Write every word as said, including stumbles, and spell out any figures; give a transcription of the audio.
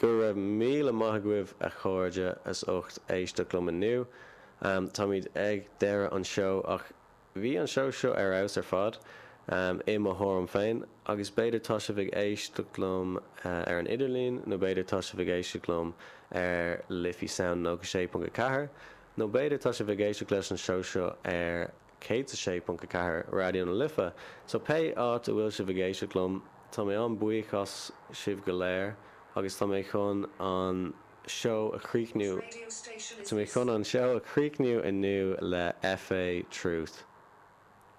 Go raibh míle maith agaibh a chairde as ucht éisteacht liom inniu. Um, Táimid ag deireadh an seó ach bhí an seó seo ar fheabhas ar fad um, i mo thuairim féin, agus b'fhéidir tá sibh ag éisteacht liom uh, ar an idirlíon nó b'fhéidir tá sibh ag éisteacht liom ar Liffey Sound nócha sé ponc a ceathair, nó b'fhéidir tá sibh ag éisteacht leis an seó seo ar céad sé ponc a ceathair Raidió na Life. So pé áit a bhfuil sibh ag éisteacht liom, Tá mé an-bhuíoch as sibh go léir agus tá mé chun an seó a chríochnú Tá mé chun an seó a chríochnú inniu le FA Truth.